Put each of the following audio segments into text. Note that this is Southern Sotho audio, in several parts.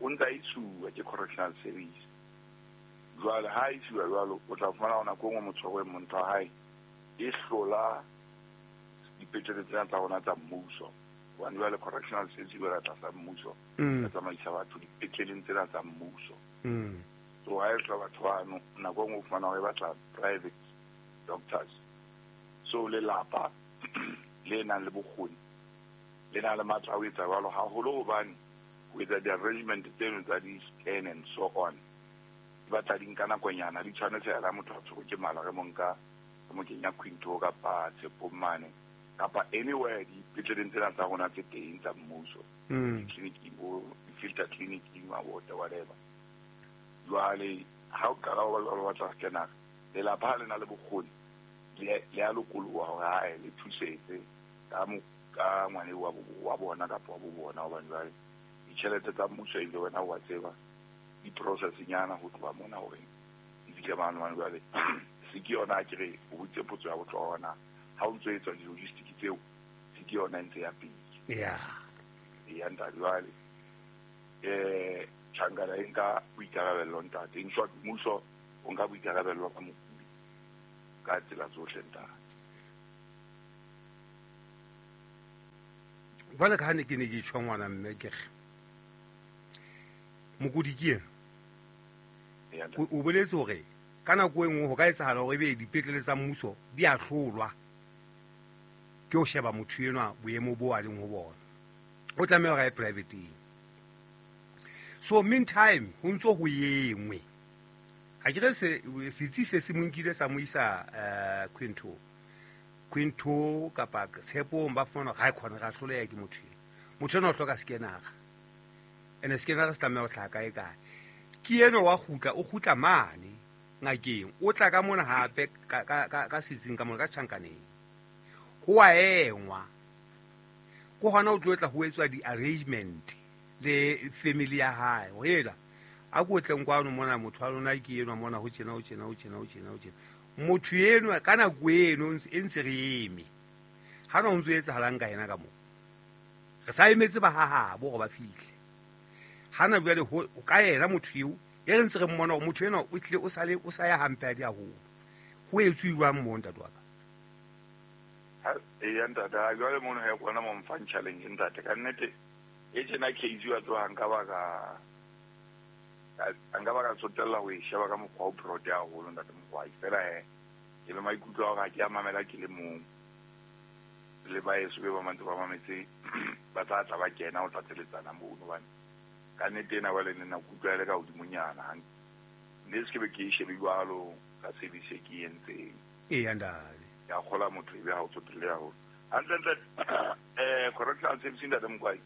O ntse a isuwa ke correctional service. Jwale ha a isiwa jwalo, o tla fumana hore nako e nngwe motho wa motho wa hae e hlola dipetlele tsena tsa rona tsa mmuso. Hobane jwale correctional service e wela tlasa mmuso, e tsamaisa batho dipetleleng tsena tsa mmuso. So ha e hlola batho bano, nako e nngwe o fumana hore e batla private doctors. So lelapa le nang le bokgoni le na le matla a ho etsa jwalo, haholo hobane ho etsa di-arrangement tseno tsa di-scan and so on di batla di nka nakonyana, di tshwane fela ha motho a tshwerwe ke mala, re mo nka re mo kenya Quinto kapa Tshepong mane kapa anywhere dipetleleng tsena tsa rona tse teng tsa mmuso, ditleliniking bo di-filter clinic, mabota, whatever. Jwale ha o qala ho ba jwalo, batla scanner, lelapa ha le na le bokgoni le a lokoloha hore hae le thusetse ka ka ngwane wa bona kapa wa bo bona, hobane jwale ditjhelete tsa mmuso ebile wena wa tseba di-process-nyana ho tloha mona hore di fihle mane. Hobane jwale se ke yona, a ke re o boditse potso ya bohlokwa na ha o ntso etswa di-logistic tseo, se ke yona e ntse ya pele. Ya ntate, jwale tjhankana e nka boikarabello ntate. In short, mmuso o nka boikarabello ka mokudi ka tsela tsohle ntate. Jwale ka ha ne ke ne ke tjho ngwana mme ke re mokudi ke ena, o boletse hore ka nako e nngwe ho ka etsahala hore ebe dipetlele tsa mmuso di a hlolwa ke ho sheba motho enwa boemo bo a leng ho bona, o tlameha hore a ye privateng. So meantime ho ntso ho engwe, ha ke re setsi se se mo nkile sa mo isa Quinto kapa Tshepong, ba fumana hore ha e khona ra hloleha ke motho eno. Motho enwa o hloka scanner, ene scanner se tlameha ho hlaha kae kae. Ke enwa wa kgutla, o kgutla mane ngakeng, o tla ka mona hape ka setsing ka mona ka tjhankaneng, ho a engwa. Ke hona o tlo tla ho etswa di-arrangement le family ya hae, ho ela a ko tleng kwano mona, motho wa lona ke enwa mona, ho tjena, ho tjena, ho tjena, ho tjena, ho tjena. Motho enwa ka nako eno e ntse re eme, ha na ho ntso etsahalang ka yena ka moo, re sa emetse ba hahabo hore ba fihle. Hana jwale ho ka yena motho eo e re ntse re mmona hore motho enwa o tlile o sale o sa ya hampe a di haholo. Ho etsuwang moo ntate wa ka? Eya ntate, ha jwale mono he kona mo mfang challenge ntate. Ka nnete e tjena case wa tseba nka ba ka nka ba ka tsotella ho e sheba ka mokgwa o broad haholo ntate Mokwai. Fela he ke le maikutlo a hore ha ke a mamela ke le mong, le baeso be ba mantse ba mametse ba tla tla ba kena ho tlatseletsana mono, hobane ka nnete ena jwale ne nna ke utlwa e le ka hodimonyana hantle. Mme se ke be ke e shebe jwalo ka service e ke e entseng. Eya ntate. Ke a kgola motho ebe ha o tsotelle haholo. Hantle-ntle correctional service ntate Mokwai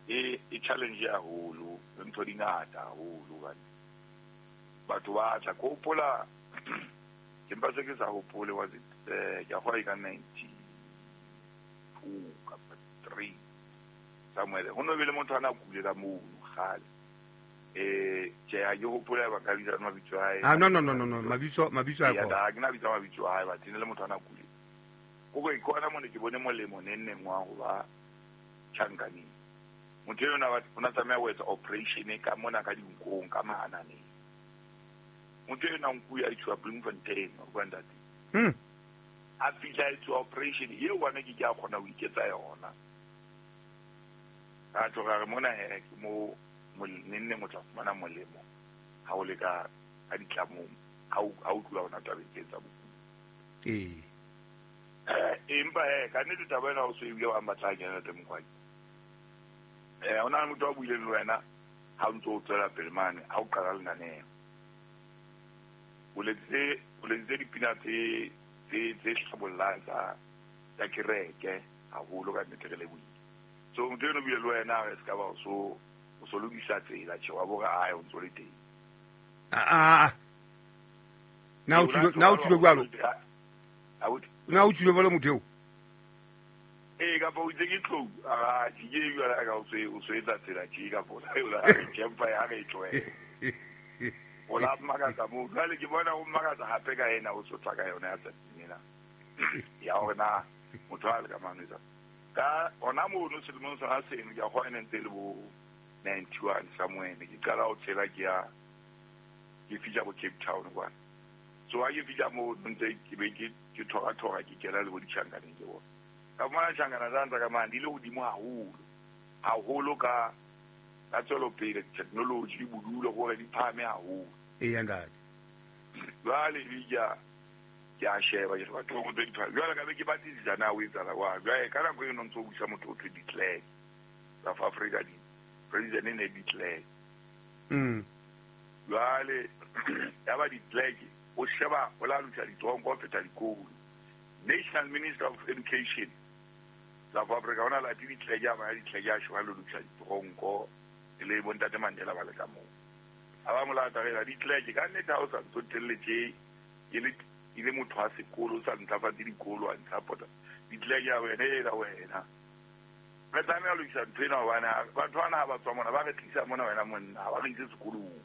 e challenge haholo, le ntho di ngata haholo, hobane batho ba tla. Ke hopola, ke mpa se ke sa hopole, was it ke a kgolwa e ka 92 kapa 3 somewhere. Ho no be le motho a na kule ka mono kgale. Tjhe, ha ke hopole ba ka bitsa mabitso a hae. Ah, no, no, no, no, no, mabitso a Eya, kona. ha ke na bitsa mabitso a hae, but e ne le motho a na kule. Kore ke hona mone ke bone molemo neng neng wa ho ba tjhankaneng. Motho eno o na tlameha ho etsa operation ka mona ka dinkong, ka mahananeng. Motho eno a nkuwe a isiwa Bloemfontein, wa utlwa ntate? A fihla a etsuwa operation eo, one ke ke a kgona ho iketsa yona. Ka tjho ka re mona he ke mo neng neng o tla fumana molemo ha o le ka ditlamong, ha o tluwa hona tabeng tse tsa bokudi. Empa he ka nnete taba ena o so ebile wa batla kena ntate Mokwai. Ho na le motho a buileng le wena ha o ntso o tswela pele mane ha o qala lenaneo. O letsitse dipina tse hlabollang tsa kereke haholo, ka nnete re lebohile. So motho eno bile le wena re ska ba o so lokisa tsela, tjhe wa bore ae o ntso le teng. Na o tswile, na o tswile jwalo? Na o tswile jwalo motho eo? Ee, kapa o itse ke tlou, a ke ke jwale ka o so etsa tsela tje, kapa o la re tjempa ya re tlohele. O la mmakatsa moo. Jwale ke bona o mmakatsa hape ka ena o sotla ka yona ya tsatsing ena. Ya hore na motho a le ka mano etsa. Ka hona mono selemong sona seno, ke a kgolwa e ne ntse e le bo 91 somewhere ne ke qala ho tshela ke ya ke fihla bo Cape Town kwana. So ha ke fihla moo ntse ke be ke thora ke kena le bo ditjhankaneng ke bona. Ka fumana tjhankana tsane tsa ka mane di le hodimo haholo. Haholo ka tswelopele technology bodulo hore di phahame haholo. Eya ntate. Jwale ke a sheba ke re batho tse di phahame. Jwale ka be ke batlisisa na o etsahala jwang. Jwale ka nako eno ntso busa motho o thwe declare. South Africa di president e ne declare. Jwale ya ba declare o sheba o la lokisa ditronko ho feta dikolo. National Minister of Education South Africa ona la di declare ya ba declare ya sheba lo lokisa ditronko le bontate Mandela ba le ka moo. A ba molata re la declare ka nnete ha o sa ntsotelletse ke le motho wa sekolo sa ntlafatse dikolo a ntshapota declare ya wena e la wena. Re tlameha ho lokisa ntho ena hobane batho bana ha ba tswa mona ba re tlisa mona wena monna ha ba re ise sekolong.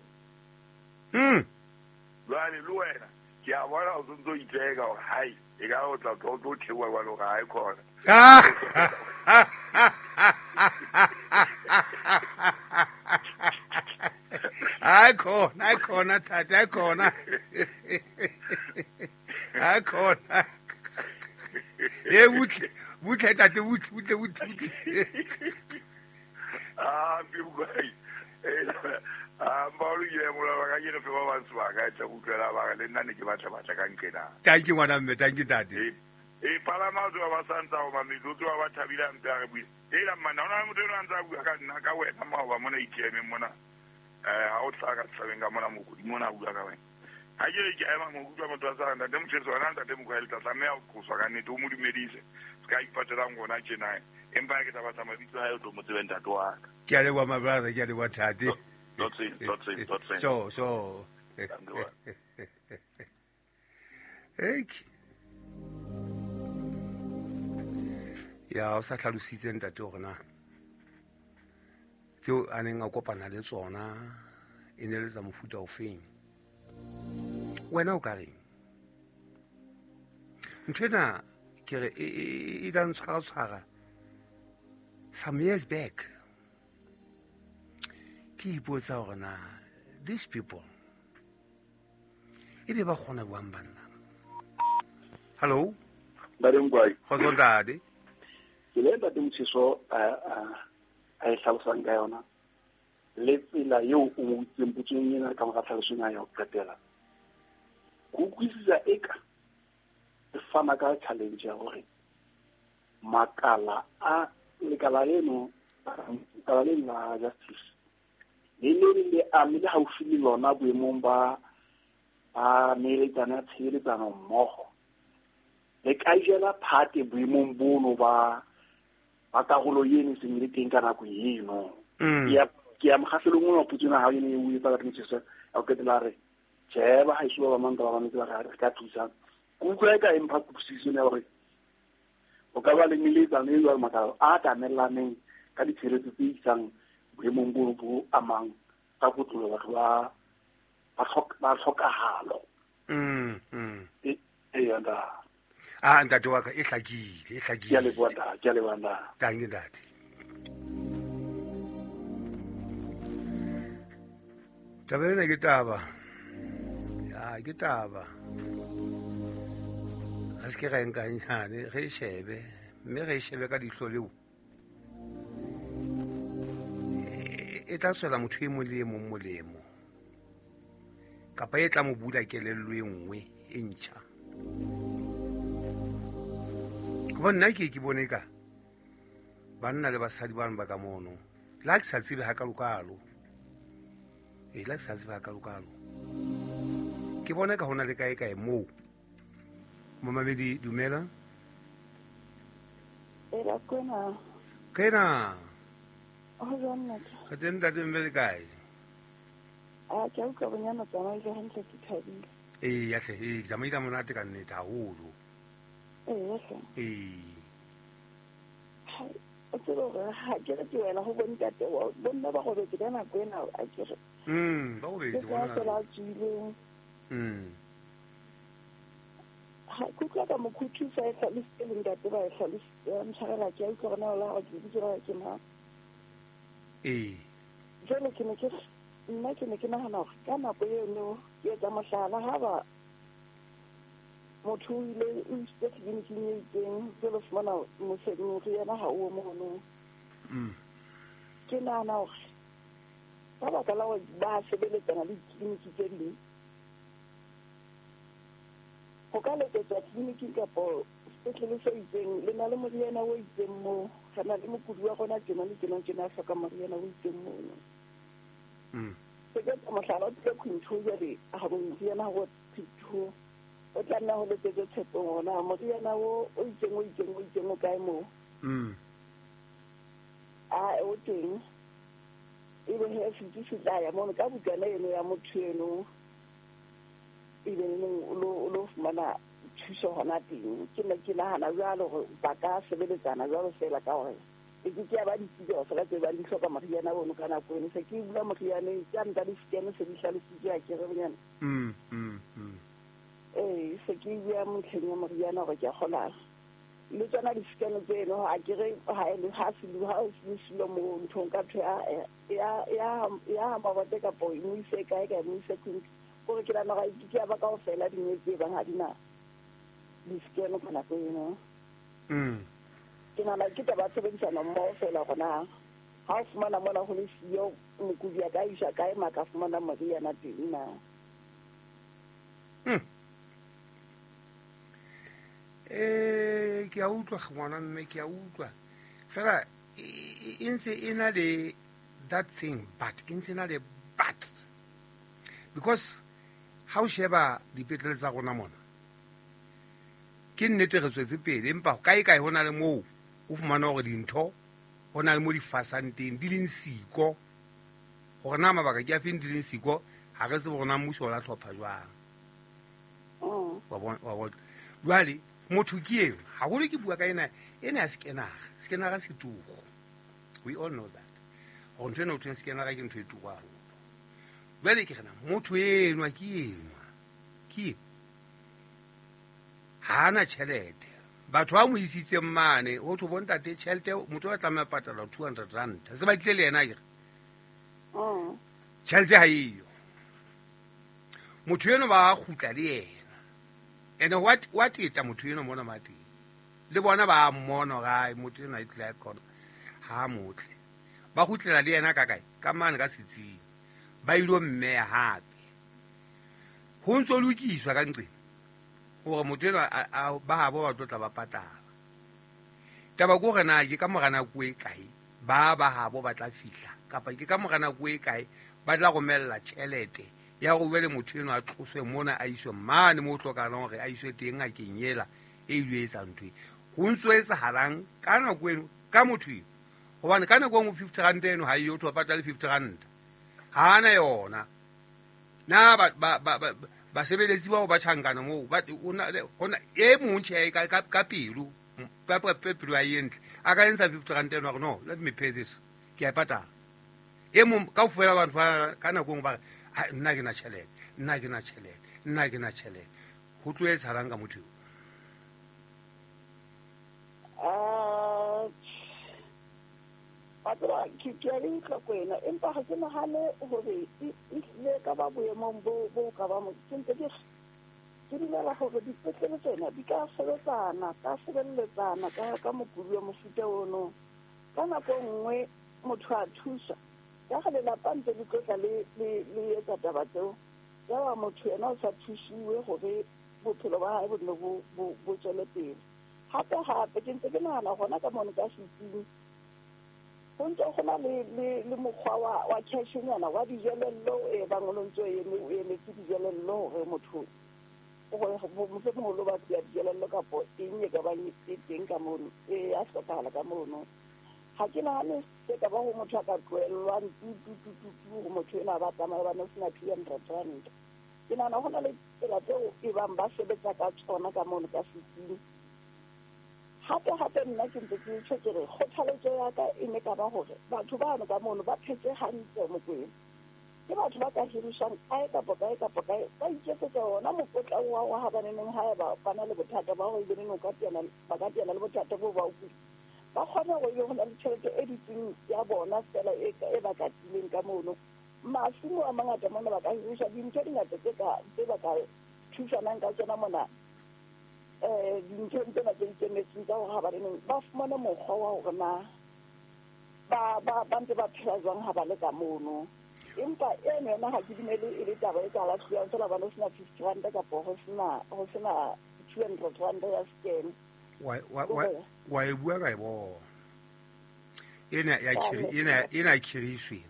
Jwale le wena ke a bona o sentse o itseka hore hai e ka o tla tlo theoha jwale hore ha e khona. Ai khona thata ai khona. Ai khona. E butle tate butle. Ah bi ah ba lo ye mola ba ka ke re ba ba tswa ka tla utlwela ba le nna ne ke batla ka nkena. Thank you ngwana mme, thank you tate. E palama tswa ba santsa o mametso tswa ba thabile mpe a re bue. E la mana ona motho eno a ntsa bua ka nna ka wena maoba mona ikeme mona. Ha o tla ka tshabeng ka mona mokodi mona bua ka wena. Ha ke re ke ema mo utlwa motho a sa ntate Motjheso wena ntate Mokwele tla tlameha ho qoswa ka nnete o mo dumedise. Se ka ipatelang rona tjena. Empa ke tla batla mabitso a hae o tlo mo tsebe ntate wa ka. Ke a leboha my brother, ke a leboha tate. Dot. So. Ek. Ya o sa hlalositse ntate hore na tseo a neng a kopana le tsona e ne le tsa mofuta ofeng. Wena o ka reng? Ntho ena ke re e la ntshwara some years back. Ke ipotsa hore na these people e be ba kgona buang banna. Hello? Ntate Mokwai. Kgotso ntate. Ke le ntate Motjheso a e hlalosang ka yona le tsela eo o mo utlwileng potsong ena ka mora tlhalosong ya ho qetela. Ke utlwisisa eka e fana ka challenge ya hore makala a lekala leno lekala leno la justice le le le ame le haufi le lona boemong ba neeletsano ya tshebeletsano mmoho le ka jela phate boemong bono ba karolo eno e seng le teng ka nako eno. Ke ya mokgahlelong ona wa potso ena ha ene o etsa ka Motjheso a o qetela re tjhe ba haeso ba bamang ba bametse ba re ka thusang. Ke utlwa eka e mpha kutlwisiso ya hore o ka ba le meletsano e jwalo makala a atamelaneng ka ditshebeletso tse isang boemong bo bo amang ka kotlolo batho ba tlhokahalo. Eya ntate. Ah ntate wa ka e hlakile. Ke a leboha ntate. Thank you ntate. Taba ena ke taba. Ya ke taba. Re se ke ra nka nyane re shebe mme re shebe ka dihlo leo. E tla tswela motho e mong le e mong molemo. Kapa e tla mo bula kelello e nngwe e ntjha. Hobane nna ke bone ka banna le basadi bano ba ka mono. Le ha ke sa tsebe hakalokalo. Le ha ke sa tsebe hakalokalo. Ke bona ka hona le kae kae moo. Momamedi dumela. Ela kwena. Kena. O jwang ntate? Re teng ntate mme le kae? A ke utlwa bonyana tsamaile hantle ke thabile. Ee ya hle, ee tsamaile monate ka nnete haholo. Ee hle. Ee. O tsebe hore ha ke re ke wela ho bontate bo nna ba robetse ka nako ena a ke re. Ba robetse bona. Ke ka tswileng. Ha ke utlwa ka mokhuthusa e hlalositse le ntate ba e hlalositse ntshwarela ke a utlwa hore na o la hore ke lebitso la ke mang. Ee. Jwale ke ne ke nna ke ne ke nahana hore ka nako eno ke etsa mohlala ha ba motho o ile o isitse tleliniking e itseng jwale fumana moriana ha o mono. Ke nahana hore ka baka la hore ba sebeletsana le ditleliniki tse ding, ho ka letsetswa tleliniking kapo sepetlele se itseng le na le moriana o itseng moo, re na le mokudi wa rona tjena le tjena tjena a hloka moriana o itseng mono. Se ke etsa mohlala o tlile Quinto jwale ha moriana ha o Quinto o tla nna ho letsetse Tshepong hore na moriana o itseng o itseng o itseng o kae moo. A o teng. Ebe he setsi se tla ya mono ka bukana eno ya motho eno ebe neng o lo fumana thuso hona teng. Ke ne ke nahana jwalo hore ba ka sebeletsana jwalo feela ka hore e ke ke ya ba ditsi kaofela tse bang di hloka moriana ono ka nako eno. Se ke bula morianeng ke a nka di-scan se di hlalositswe a kere bonyana. Ee, se ke bua motlheng ya moriana hore ke a kgola le tsona di-scan tseno ha ke re ha e ha se ha o se silo mo nthong ka thwe ya mabote kapo e mo ise kae ka mo ise Queen gore ke nahana hore ke ya ba kaofela dingwe tse bang ha di na di-scan ka nako eno. Ke nahana ke taba ya tshebedisano mmoho feela hore na ha o fumana mona ho le siyo mokudi a ka iswa kae ma ka fumana moriana teng na. Ke a utlwa ngwana mme ke a utlwa fela e ntse e na le that thing but e ntse na le but because ha o sheba dipetlele tsa rona mona ke nnete re tswetse pele empa kae kae ho na le moo o fumana hore dintho ho na le mo di fasang teng di leng siko hore na mabaka ke a feng di leng siko ha re tsebe hore na mmuso o la hlopha jwang. Wa bona jwale motho ke eo haholo ke bua ka ena ena ya scanner scanner se turu. We all know that hore ntho ena ho thweng scanner ke ntho e turu haholo. Jwale ke rena motho enwa ke enwa ke ha ana tjhelete batho ba mo isitseng mane ho thwe bontate tjhelete motho a tlameha patala 200 rand se ba tlile le yena akere tjhelete ha eyo motho eno ba kgutla le yena ene wa teta motho eno mona mateng le bona ba mmona hore ai motho eno a tlile khona ha motle ba kgutlela le yena ka kae ka mane ka setsing ba ilo mmeya hape ho ntso lokiswa ka nqeng hore motho eno ba habo ba tlo tla ba patala. Taba ke hore na ke ka mora nako e kae ba habo ba tla fihla kapa ke ka mora nako e kae ba tla romella tjhelete ya hore jwale motho eno a tloswe mona a iswe mane mo hlokahalang hore a iswe teng ngakeng ela e ilo etsa ntho e. Ho ntso etsahalang ka nako eno ka motho eno hobane ka nako e nngwe 50 rand eno ha eyo ho patale 50 rand ha ana yona na basebeletsi bao ba tjhankana moo ba hona e mong tjhe ka pelo ka pelo ya e ntle a ka entsha 50 rand eno a re no let me pay this ke a e patala. E mong kaofela batho ba ka nako e nngwe ba re nna ke na tjhelete nna ke na tjhelete nna ke na tjhelete ho tlo etsahalang ka motho eo? Wa tseba ke a e utlwa kwena empa ha ke nahane hore e hlile ka ba boemong bo ka ba ke ntse ke dumela hore dipetlele tsena di ka sebetsana ka sebeletsana ka mokudi wa mofuta ono. Ka nako e nngwe motho a thusa ka ge lelapa ntse le tlotla le etsa taba tseo ya ba motho yena o sa thusiwe hore bophelo ba hae bo nne bo tswele pele. Hape hape ke ntse ke nahana hona ka mono ka setsing ho ntse ho na le mokgwa wa cash-nyana wa dijelello e bang o ntse o emetse dijelello hore motho mohlomong o lo batla dijelello kapo eng e ka bang e teng ka mono e ya hlokahala ka mono. Ha ke nahane se ka ba ho motho a ka tlohellwang tu tu tu tu tu hore motho ena ba tsamaya ba no sena 200 rand. Ke nahana ho na le tsela tseo e bang ba sebetsa ka tsona ka mono ka setsing. Hape hape nna ke ntse ke tjho ke re kgothaletso ya ka e ne ka ba hore batho bano ka mono ba phetse hantle Mokwena. Ke batho ba ka hiriswang kae kapa kae kapa kae ba iketsetsa ona mokotla wa ha ba neneng haeba ba na le bothata ba hore ebe neng o ka teana ba ka teana le bothata bo ba o kula. Ba kgone hore ebe ho na le tjhelete e dutseng ya bona feela e e ba katileng ka mono. Masimo a mangata mona ba ka hiriswa dintho di ngata tse ka tse ba ka thusanang ka tsona mona dinthong tsena tse ikemetseng tsa hore ha ba le neng ba fumane mokgwa wa hore na ba ba ba ntse ba phela jwang ha ba le ka mono. Empa eno yona ha ke dumele e le taba e ka lahluwang feela hobane ho sena R50 kapo ho sena R200 ya scan. Wa e bua ka e bona ena ya ena ya khiriswe.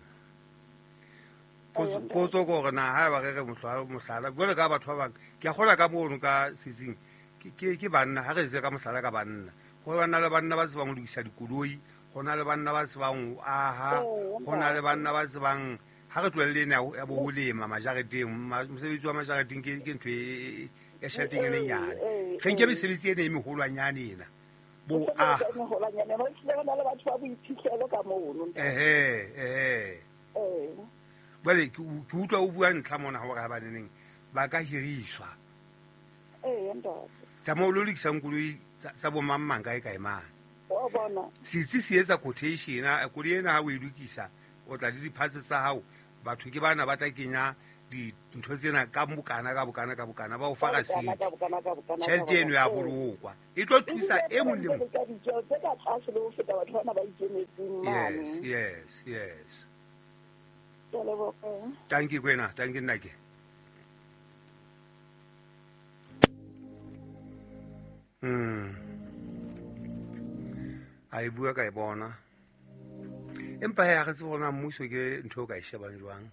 Potso ke hore na ha eba re re mohlala jwale ka batho ba bang, ke a kgola ka mono ka setsing ke banna. Ha re etse ka mohlala ka banna, ho ba na le banna ba tsebang ho lokisa dikoloi, ho na le banna ba tsebang ho aha, ho na le banna ba tsebang, ha re tlohelle ena ya bo ho lema majareteng. Mosebetsi wa majareteng ke ntho e tjheleteng e nyane. Re nke mesebetsi ena e meholwanyane ena bo aha. E meholwanyane, ho hlile ho na le batho ba boiphihlelo ka mono. Ehe. Jwale ke utlwa o bua ntlha mona hore ha baneneng ba ka hiriswa. Ee, ntate. Tsa moo lo lokisang koloi tsa bo mang mang kae kae mang. Wa bona. Setsi se etsa quotation, koloi ena ha o e lokisa, o tla le di-parts tsa hao, batho ke bana ba tla kenya dintho tsena ka bokana ka bokana ka bokana, ba o fa Ka rasiti. bokana, ka bokana, ka Tjhelete eno ya bokana. bolokwa, e tlo thusa e mong le mong. Ka ditjeo tse ka tlase le ho feta batho bana ba ikemetseng mane. Yes. Ke a leboha. Tanki kwena, tanki nnake. A e bua ka e bona, empa he, ha re tsebe hore na mmuso ke ntho eo ka e shebang jwang,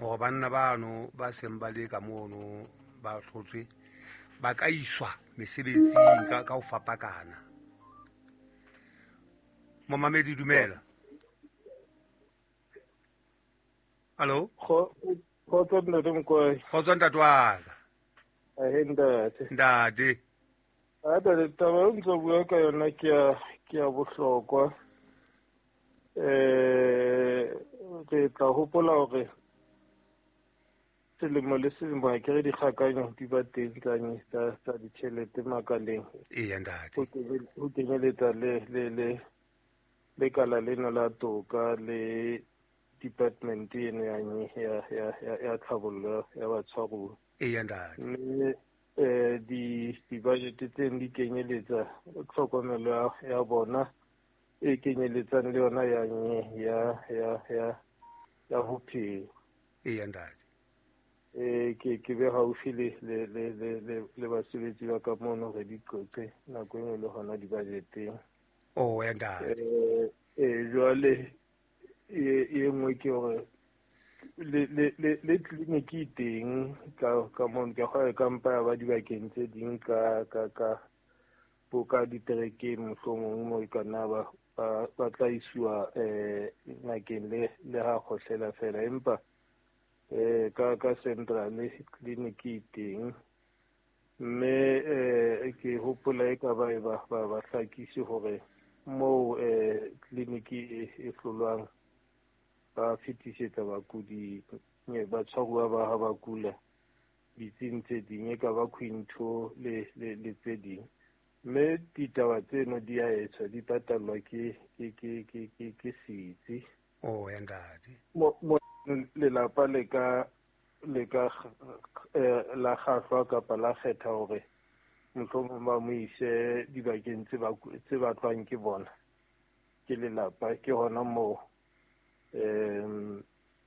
hore banna bano ba seng ba le ka mono ba hlotswe ba ka iswa mesebetsing ka ho fapakana. Momamedi, dumela, hallo. Kgotso ntate Mokwai. Kgotso ntate wa ka. Ahe ntate. Ntate. A ntate, taba eo ntse o bua ka yona ke ya bohlokwa. Re tla hopola hore selemo le selemo ha ke re dikgakanyo di ba teng tsa ditjhelete makaleng. Eya ntate. Ho kenyeletsa le lekala lena la toka le department eno ya tlhabollo ya batshwaruwa. Eya ntate. Mme di-budget tseno di kenyeletsa tlhokomelo ya bona e kenyeletsang le yona ya nye ya ya ya ya bophelo. Eya ntate. Ke be haufi le basebetsi ba ka mono, re di qoqe nako e nngwe le hona di-budgeteng. Oh ya ntate. Jwale e nngwe ke hore le clinic e teng ka mono, ke kgona ka mpa ya ba dibakeng tse ding ka bo ka diterekeng, mohlomong mo e ka nna ba tla isiwa ngakeng le ha kgohlela fela, empa ka central clinic e teng. Mme ke hopola e ka ba e ba hlakise hore moo clinic e hlolwang ba fetisetsa bakudi, batshwaruwa ba ha ba kula ditsing tse ding, e ka ba Quinto le tse ding. Mme ditaba tseno di a etswa, di patallwa ke setsi. Oh ya ntate. Mo lelapa le ka la kgahlwa kapa la kgetha hore mohlomong ba mo ise dibakeng tse batlwang ke bona ke lelapa, ke hona moo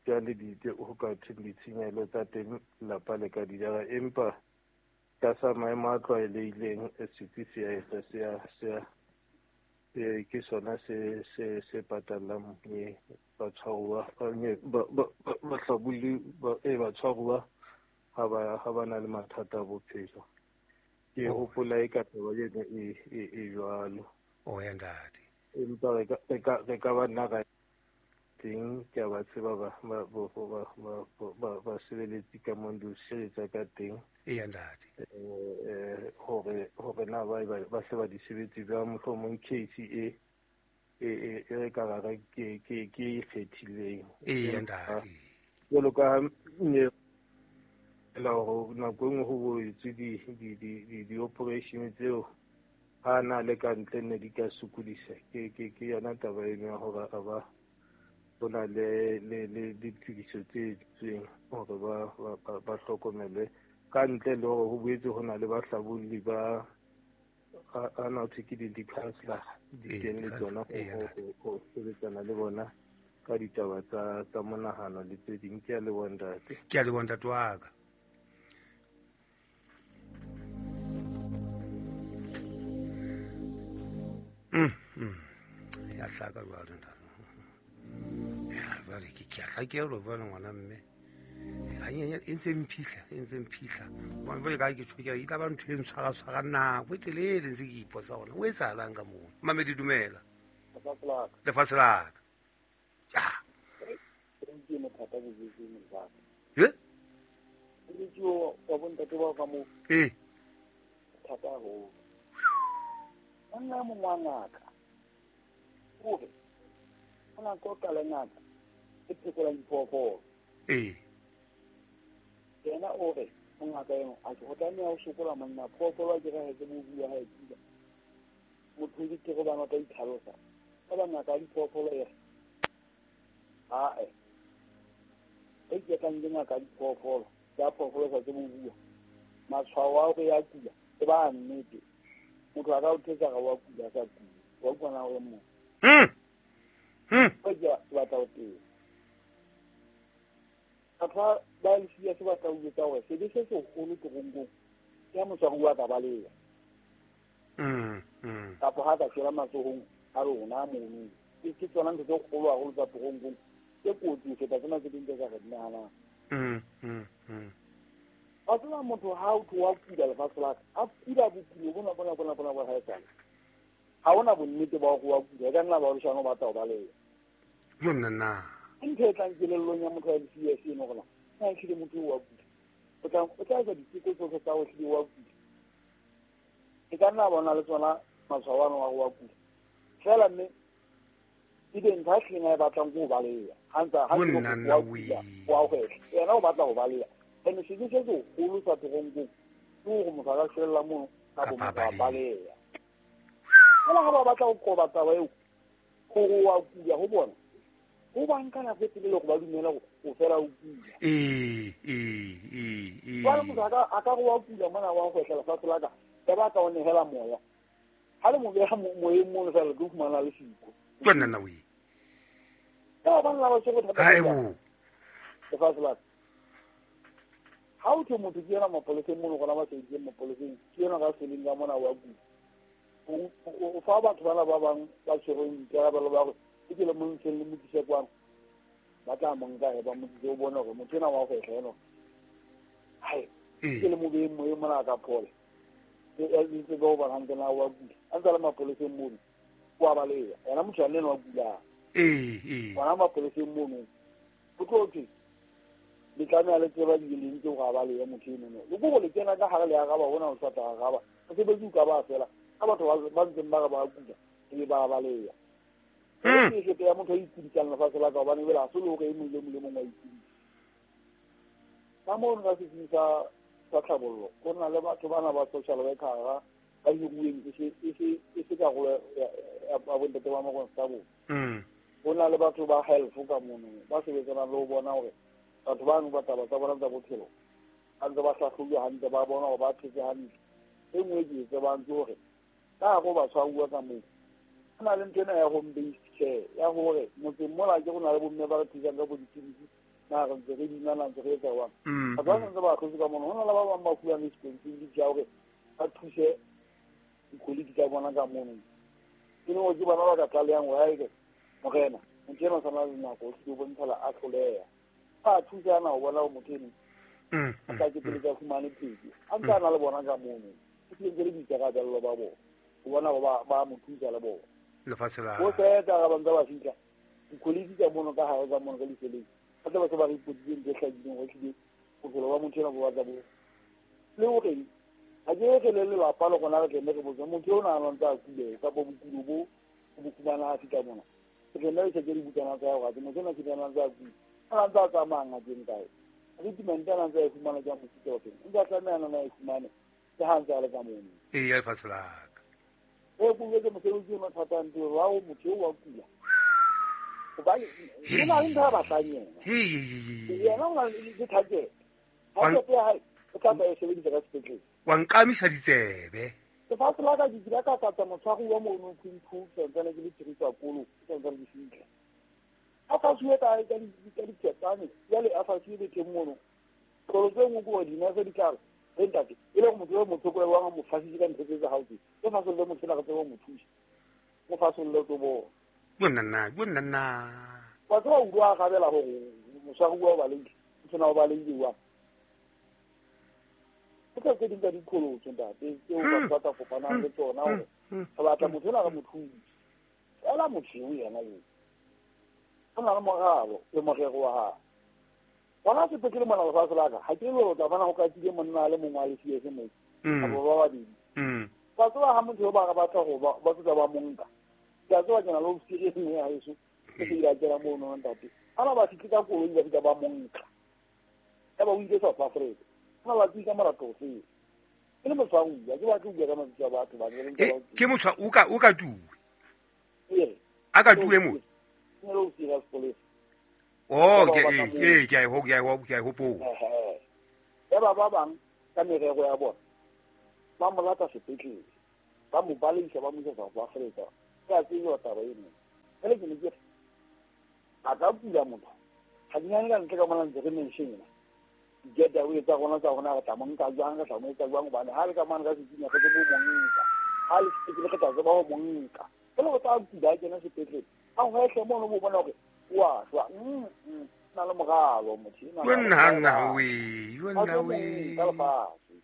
jwale ho ka thweng ditshenyehelo tsa teng lelapa le ka di jara, empa tlasa maemo a tlwaelehileng setsi se a etsa se a ke sona se patallang batshwaruwa bahlabulli batshwaruwa ha ba na le mathata a bophelo. Ke hopola e ka taba eno e jwalo. Oh ya ntate. Empa re ka ba nna ra teng, ke a ba tseba basebeletsi ka mo di o sireletsa ka teng. Eya ntate. Hore na ba se ba di sebetse jwang, mohlomong case e re ka rara ke e kgethileng. Eya ntate. Jwalo ka ha ne la hore nako e nngwe ho bo etswe di-operation tseo. Ha na le ka ntle ne di ka sokodisa. Ke yona taba eno ya hore a ba ho na le ditokiso tse etsweng hore ba hlokomelwe ka ntle le hore ho boetse ho na le bahlabolli ba a na thwe ke di-councillor di teng le tsona ho sebetsana le bona ka ditaba tsa monahano le tse ding. Ke a leboha ntate. Ke a leboha ntate wa ka. Ya hlaka jwale ntate. Ya jwale ke a hlakelwa jwale ngwana mme. E ntse mphihla. Hobane jwale ka ke tjho ke re e tla ba ntho e ntshwara-tshwara nako e telele ntse ke ipotsa hore o etsahalang ka moo. Mamedi dumela. Lefatshe la ka. Ya. Eh? Eh. Thata haholo. Monna mongwe wa ngaka o re o na qoqa le ngaka e phekolang diphoofolo. Ee. Yena o re ngaka eno a ke go tlameha ho sokola monna phoofolo a ke re ha ke mo bua ha e kula. Motho ke ke go bana ka itlhalosa. Ka ba ngaka ya diphoofolo e re ae. E ke tlang ke ngaka ya diphoofolo ya phoofolo sa ke mo bua. Matshwao a hore ya kula e ba nnete. Motho a ka o thetsa ga wa kula sa kula. Wa kwana hore mo. Ba ke batla ho teng. Batho ba le siya se batla ho etsa hore sebe se seholo toronkong ya motshwaruwa a ka baleha. Kapa ha ka shwela matsohong a rona mono. Ke tsona ntho tse kgolo haholo tsa toronkong tse kotsi ho feta tsena tse ding tse ka re di nahanang. Wa tseba motho ha o tho wa kula lefatshe la ka, a kula bokulo bona bona bona bona bona haesale. Ha hona bonnete ba hore wa kula, e ka nna ba leshano ba tla o baleha. Yo nna na. Ntho e tlang kelellong ya motho wa CS eno gona, na ehlile motho wa kula. O tla etsa diteko tsohle tsa ho ehlile wa kula. E ka nna bona le tsona matshwao ano a wa kula. Fela mme ebe ntho a hlileng a e batlang ke ho baleha. Ha ntse ha wa kula, wa hwehla. Yena o batla ho baleha. Ene sebe se seholo sa toronkong ke hore motho a ka shwella mono kapa motho a baleha. Fela ha ba batla ho qoba taba eo, hore wa kula ho bona, ho ba nka nako e telele hore ba dumela hore o fela o kula. Jwale motho a ka re wa kula mona wa hwehla lefatshe la ka, ya ba ka o nehela moya. Ha le mo beha moyeng mono fela le tlo fumana le siko. Ke nna we. Ka ba nna ba tshwere thata. Lefatshe la ka. Ha o thwe motho ke yena mapoleseng mono gona ba sebeditseng mapoleseng, ke yena ka seleng ka mona wa kula. O fa batho bana ba bang ba tshwereng dikarabelo ba hore ke ke le mo ntsheng le mo tlise kwano. Ba tla mo nka he ba mo tlise o bone hore motho ena wa hwehla eno. Hai, ke le mo beyeng moyeng mona a ka phola. E ntse ba o bona hantle na wa kula. A ntse a le mapoleseng mono, o a baleha. Yena motho ane wa kulang. Hona mapoleseng mono, o tlo thwe le tlameha le tseba di leng tse hore a balehe motho eno. Le ko le kena ka hare le araba hona o sa tla araba. Mosebetsi o ka ba fela. Ka batho ba ntseng ba re ba kula, ebe ba baleha. Ke shete ya motho a ikudisang lefatshe la ka hobane ebile ha se le hore e mong le mong le mong wa ikudisa. Ka mono ka setsing sa tlhabollo, ho na le batho bana ba social worker ba hiruweng e se karolo ya bontate ba makonstable. Ho na le batho ba health ka mono ba sebetsanang le ho bona hore batho bano ba taba tsa bona tsa bophelo ba ntse ba hlahlobuwa hantle, ba bona hore ba phetse hantle. E nngwe ke e tsebang ke hore ka hare ho batshwaruwa ka moo ho na le ntho ena ya home based care ya hore motseng mola ke go na le bomme ba re thusang ka bo dipidisi na re ntse re binana ntse re etsa jwang. Batho ba santse ba ahlotse ka mono, ho na le ba bang ba fuwang responsibility ya hore ba thuse dikoliki tsa bona ka mono. Ke leng hore ke bona ba ka tlalehang hore haeke morena motho ena o sa na le nako o hlile o bontshala a hloleha. Ba thusana ho bona hore motho eno a tla ke pele tsa fumane pheko. A ntse a na le bona ka mono. Ke ntse le boikarabello ba bona ho bona hore ba mo thusa le bona. Lefatshe la ho feta ga ba ntse ba fihla dikoliki tsa mono ka hare ka mono ka diseleng. Ba tla ba se ba re ipoditseng ntho e hlakileng hore ehlile bophelo ba motho ena bo batla bo le hore ha ke re le lelapa le rona re tle re botse motho eo na a ntse a kule kapa bokulo bo bo fumana ha fihla mona. Re tle re check dibukana tsa hore motho ena ke ntse a kula. A ntse a tsamaya ngakeng kae. Treatment ana ntse a e fumana ke mofuta o feng. Ntse a tlameha na e fumane ke ha ntse a le ka mono. Ee, ya lefatshe la ka. E ko ke mosebetsi o mathatang teng wa o motho o wa kula. Hobane o na le ntho a batlang yena. Yena o na le target. Target ya hae o tla ba e sebedisa ka sepetlele. Wa nqamisa ditsebe. Lefatshe la ka ke kile ka tlatsa motshwari wa mono phumpu santsane ke le tshirisa kolo santsane ke fihla. A fasuwe ka diketane jwale a fasuwe betheng mono. Kolo tse nngwe ke hore dinese di tla re ntate e le gore motho yo motho ko wa mo fasitse ka ntho tse tsa hao tse. O fasolle motho ena re tsebe ho mo thusa. Mo fasolle tlo bona. Bonna. Wa tseba o utlwa a gabela hore motshwari wa o balehile. Motho ena o balehile jwang? Ke tse ding tsa diqholotso ntate tseo batho ba ka kopanang le tsona hore re batla motho ena re mo thuse. Fela motho eo yena eo o na le moralo le morero wa hae. Bona sepetlele mona lefatshe la ka ha ke le tla bona ho katile monna a le mongwe a le CS moo kapa ba babedi. Wa tseba ha motho eo ba re batla ho ba tla ba monka. Ke a tseba ke na le ofisiri e nngwe ya heso e ke ile a kena mono ntate. Ha ba fihle ka koloi ba fihla ba monka. Ya ba o ile South Africa. Ha ba tsika molato ofe. Ke le motshwaruwa, ke batla ho bua ka mabitso a batho ba ke motho o ka tuwe. A ka tuwe mo. Ke le ofisiri ya sepolesa. Oh, ke a e hopola. Ya ba bang ka merero ya bona. Ba mo lata sepetlele. Ba mo baleisa ba mo isa South Africa. Ke a tseba taba eno. Ele ke ne ke a ka kula motho. Ha ke nyane ka ntle ka mona ntse re mention ena. Get away tsa rona re tla mo nka jwang re tla mo etsa jwang hobane ha le ka mane ka setsinya re tsebe ho mo nka. Ha le sepetlele re tla tseba ho mo nka. Ele o tla kula a kena sepetlele. A hwehle mono bo bona hore wa shwa. Na le moralo motho ena. Nna we, nna we. Ka lefatshe.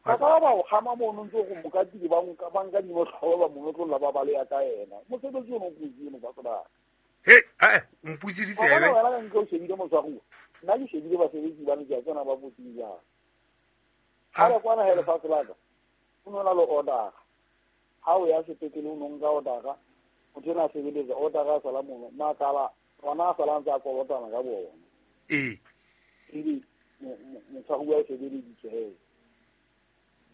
Ba ka ba o kgama mono ntse go mo katile ba nka ba nka dinotlolo ba mo notlolla ba baleya ka yena. Mosebetsi ono o kotsi eno ba tseba. He, o mputse ditsebe. Wa bona wena ka ntle o shebile motshwaruwa. Nna ke shebile basebetsi ba ne ke a tsena ba kotsing jang. Ha le kwana he lefatshe la ka. O no na le order. Ha o ya sepetlele o no nka order. Motho ena a sebeletsa order a sala mono makala ona a sala ntse a kolotana ka bona. Ee. Ebe motshwaruwa o sebeleditswe he.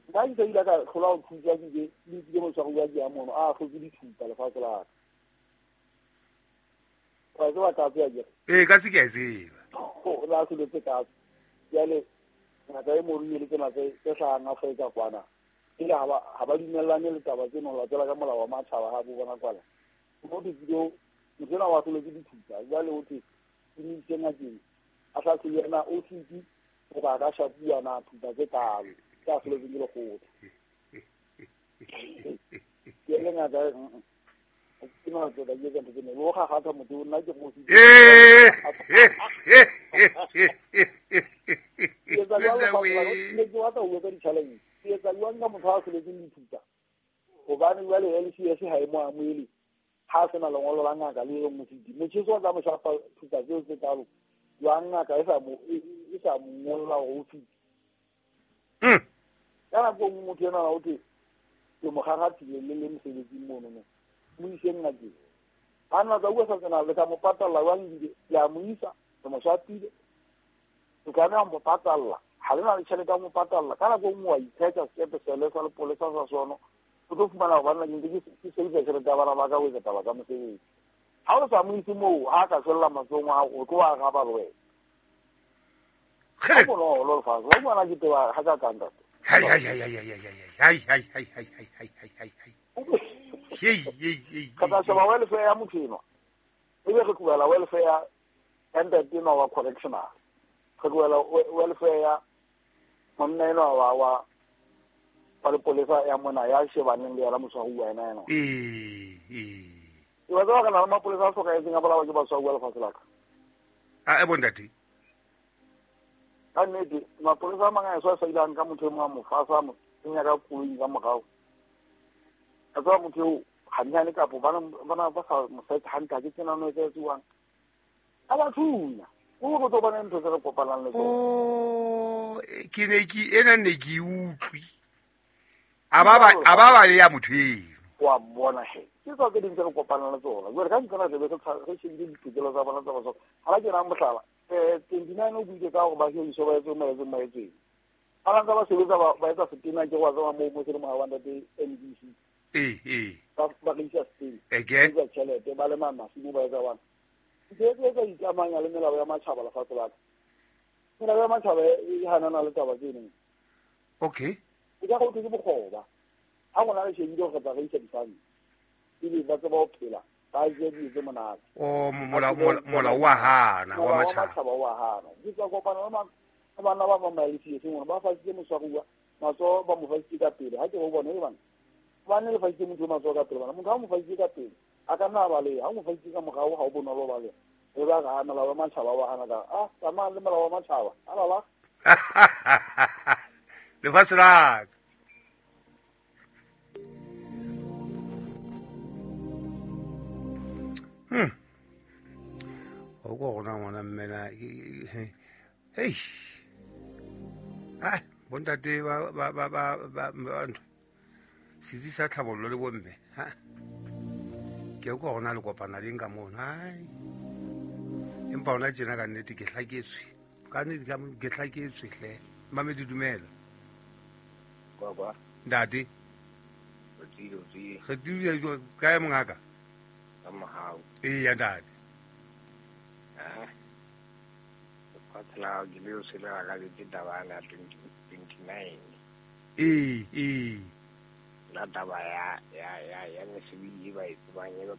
Nka ke ile ka hlola ho thusa ke ke nkile motshwaruwa ke ya mono a hlotse dithupa lefatshe la ka. Wa tseba ka tseba ke. Ee ka tse ke a tseba. O la hloletse ka. Jwale ngaka e moruile le tsena tse hlahang Afrika kwana. Ile ha ba dumellane le taba tseno ho latela ka molao wa matjhaba ha bo bona kwana. Motho ke motho ena wa hloletse dithupa jwale o thwe ke mo ise ngakeng a hlahlojwe yena o fiti hoba a ka shapuwa na thupa tse kalo tse a hloletseng ke lekgotla. Ke le ngaka ke no tlo ba etsa ntho tsena o gagata motho nna ke go se. Ke etsa jwalo ne ke batla ho bua ka di-challenge. Ke etsa jwang ka motho a hloletseng dithupa hobane jwale LCS ha e mo amohele ha se na lengolo la ngaka le reng mofiti motjheso o tla mo shapa thupa tseo tse kalo jwang ngaka e sa mo ngolla hore o fiti. Ka nako e nngwe motho enwa o thwe ke mo kgakgathile le le mosebetsing mono mo mo iseng ngakeng. Ha nna tsa bua sa tsena le ka mo patalla jwang ebile le a mo isa le mo shapile. Le tlameha ho mo patalla. Ha le na le tjhelete ya ho mo patalla. Ka nako e nngwe wa ithetsa sekepe sele sa lepolesa sa sono. O tlo fumana hore banna ke ntse ke sebedisa tjhelete ya bana ba ka ho etsa taba tsa mosebetsi. Ha o sa mo ise moo ha a ka shwella matsohong a hao o tlo araba le wena. Ha bonolo lefatshe. Wa utlwa na ke teba ha ka kang ntate. Hai hai hai hai hai hai hai hai hai hai hai hai hai hai. Hei hei hei. Ka tla sheba welfare ya motho enwa. Ebe re tlohela welfare ya ntate enwa wa correctional. Re tlohela welfare ya monna enwa wa lepolesa ya mona ya shebaneng le yena motshwaruwa yena enwa. Ee ee. Wa tseba re na le mapolesa a hlokahetseng a bolawa ke batshwaruwa lefatshe la ka. A e bontate. Ka nnete mapolesa a mang a eso a sa ile a nka motho e mong a mo fasa a mo kenya ka koloing ka morao. A tseba motho eo hannyane kapo bana ba sa mo search hantle ha ke tsena no e etsuwang. A ba thunya. O go tlo bona ntho tse re kopanang le tsona. Oh, ke ne ke ena ne ke utlwi. A ba le ya motho eno. Wa mmona he. Ke tsa tse ding tse re kopanang le tsona. Jwale ka ntsena re be re shebile ditokelo tsa bona tsa batho. Ha ba ke nang mohlala. 29 o buile ka hore ba hiriswe ba etse. Ba ntse ba sebetsa ba etsa setena ke wa tseba moo mo se le moya wa ntate NBC. Ee. Ba rekisa setena. Eke. Ba tjhelete ba lema masimo ba etsa bana. Ntse tse tsa ikamanya le melao ya matjhaba lefatshe la ka. Melao ya matjhaba e hanana le taba tseno. Okay. E ka go ke bokgoba. Ha gona le shebile gore tla reisa difane. Ebe ba tseba ho phela. Ba je dijo tse monate. O mola wa hana wa matjhaba. Matjhaba wa hana. Ke tswa kopana le bana ba bang ba LCS ngwana ba fasitse moswaruwa matsoho ba mo fasitse ka pele ha ke go bona e bana ba ne le fasitse motho matsoho ka pele bana motho ha mo fasitse ka pele a ka nna a baleha ha mo fasitse ka morao ha o bonolo baleha re ba ga molao wa matjhaba wa hana ka a tsamaya le molao wa matjhaba alala lefatshe la ka. O ko rona ngwana mmena hei bontate ba ntho setsi sa tlhabollo le bomme ha ke ko rona le kopana le nka mono hai empa ona tjena ka nnete ke hlaketswe ka nnete ke hlaketswe hle mame di dumela baba ntate re tsile kae mongaka ka mohau ee ntate lefatshe ke leo se le akabetse taba ya 29 ee la taba ya mesebetsi e ba e tsebang e